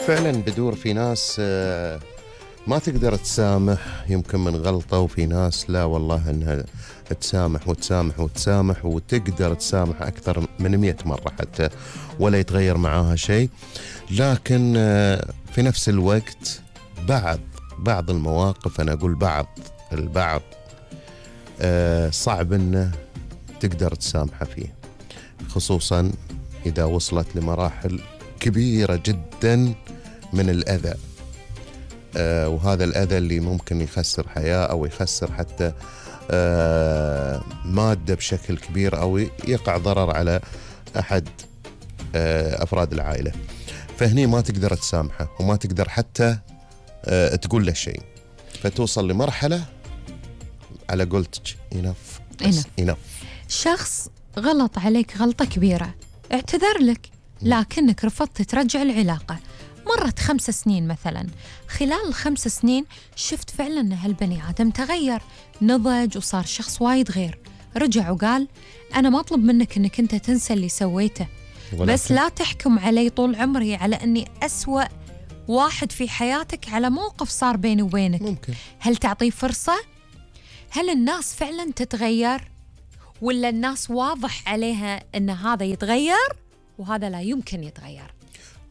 فعلا بدور في ناس ما تقدر تسامح يمكن من غلطة، وفي ناس لا والله انها تسامح وتسامح وتسامح وتقدر تسامح أكثر من 100 مرة حتى ولا يتغير معاها شيء. لكن في نفس الوقت بعض المواقف، أنا أقول البعض صعب أنه تقدر تسامحه فيه، خصوصا إذا وصلت لمراحل كبيرة جدا من الأذى، وهذا الأذى اللي ممكن يخسر حياة أو يخسر حتى مادة بشكل كبير، أو يقع ضرر على أحد أفراد العائلة. فهني ما تقدر تسامحه وما تقدر حتى تقول له شيء، فتوصل لمرحلة على قولتك enough. شخص غلط عليك غلطة كبيرة، اعتذر لك لكنك رفضت ترجع العلاقة. مرت 5 سنين مثلا، خلال ال5 سنين شفت فعلا أن هالبني آدم تغير، نضج وصار شخص وايد غير. رجع وقال أنا ما أطلب منك أنك أنت تنسى اللي سويته، بس لا تحكم علي طول عمري على أني أسوأ واحد في حياتك على موقف صار بيني وبينك. ممكن. هل تعطيه فرصة؟ هل الناس فعلا تتغير؟ ولا الناس واضح عليها أن هذا يتغير وهذا لا يمكن يتغير؟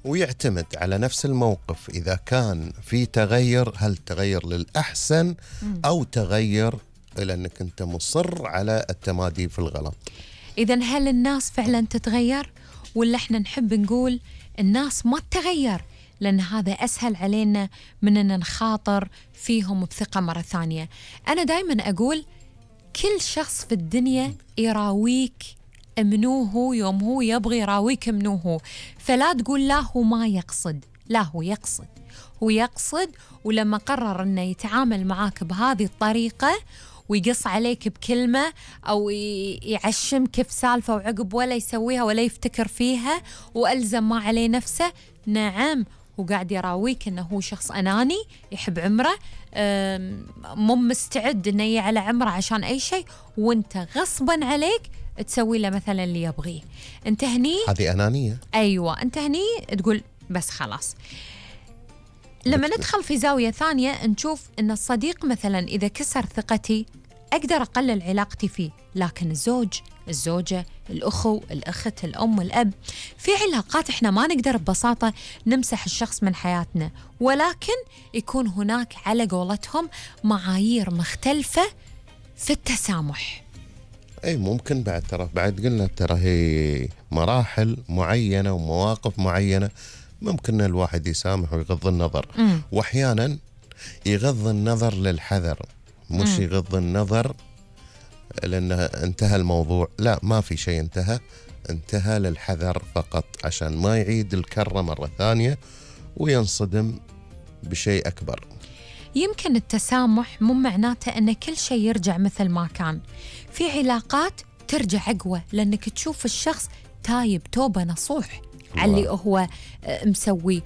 ويعتمد على نفس الموقف، إذا كان في تغير، هل تغير للأحسن أو تغير إلى أنك أنت مصر على التمادي في الغلط. إذن هل الناس فعلا تتغير ولا إحنا نحب نقول الناس ما تتغير لأن هذا أسهل علينا من أن نخاطر فيهم بثقة مرة ثانية؟ أنا دايما أقول كل شخص في الدنيا يراويك منوه يوم هو يبغي يراويك منوه، فلا تقول لا هو ما يقصد، لا هو يقصد ولما قرر أنه يتعامل معاك بهذه الطريقة ويقص عليك بكلمة أو يعشمك في سالفة وعقب ولا يسويها ولا يفتكر فيها وألزم ما عليه نفسه، نعم هو قاعد يراويك أنه هو شخص أناني يحب عمره، مو مستعد أنه يعلى عمره عشان أي شيء، وانت غصبا عليك تسوي له مثلا اللي يبغيه. انت هني هذه أنانية. أيوة، انت هني تقول بس خلاص. لما ندخل في زاوية ثانية نشوف أن الصديق مثلا إذا كسر ثقتي أقدر أقلل علاقتي فيه، لكن الزوجة، الأخو، الأخت، الأم، الأب، في علاقات إحنا ما نقدر ببساطة نمسح الشخص من حياتنا، ولكن يكون هناك على قولتهم معايير مختلفة في التسامح. أي ممكن بعد قلنا ترى هي مراحل معينة ومواقف معينة ممكن الواحد يسامح ويغض النظر. وأحيانا يغض النظر للحذر، مش يغض النظر لأنه انتهى الموضوع، لا ما في شيء انتهى للحذر فقط عشان ما يعيد الكرة مرة ثانية وينصدم بشيء أكبر. يمكن التسامح مو معناته أن كل شيء يرجع مثل ما كان، في علاقات ترجع أقوى لأنك تشوف الشخص تايب توبة نصوح على اللي هو مسوي،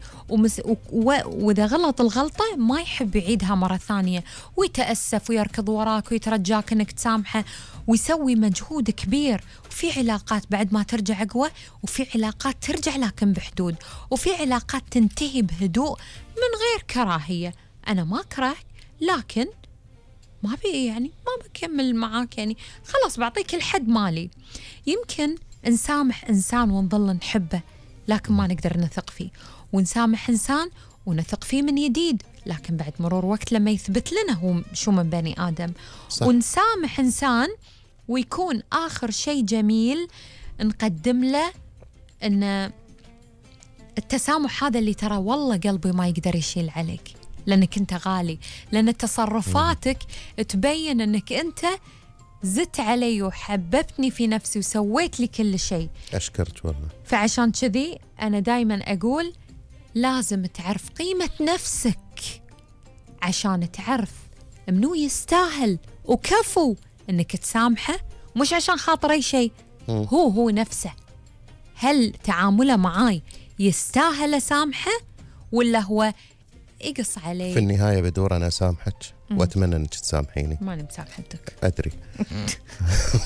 وإذا غلط الغلطة ما يحب يعيدها مرة ثانية ويتأسف ويركض وراك ويترجاك أنك تسامحه ويسوي مجهود كبير. وفي علاقات بعد ما ترجع أقوى، وفي علاقات ترجع لكن بحدود، وفي علاقات تنتهي بهدوء من غير كراهية. أنا ما أكرهك لكن ما بكمل معاك، يعني خلاص بعطيك الحد مالي. يمكن نسامح إنسان ونظل نحبه لكن ما نقدر نثق فيه، ونسامح إنسان ونثق فيه من جديد لكن بعد مرور وقت لما يثبت لنا هو شو من بني آدم. صح. ونسامح إنسان ويكون آخر شيء جميل نقدم له إن التسامح هذا اللي ترى والله قلبي ما يقدر يشيل عليك لأنك أنت غالي، لأن تصرفاتك تبين أنك أنت زدت علي وحببتني في نفسي وسويت لي كل شيء. أشكرت والله. فعشان كذي أنا دايما أقول لازم تعرف قيمة نفسك عشان تعرف منو يستاهل وكفو أنك تسامحه، مش عشان خاطر أي شيء، هو نفسه. هل تعامله معاي يستاهل أسامحه ولا هو يقص علي؟ في النهاية بدور أنا أسامحك وأتمنى أنك تسامحيني. ما أنا مسامحتك. أدري.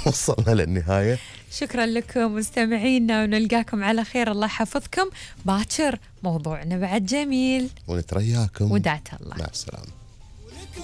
وصلنا للنهاية. شكرا لكم مستمعينا، ونلقاكم على خير. الله يحفظكم. باكر موضوعنا بعد جميل، ونترياكم ودعت الله. مع السلامة.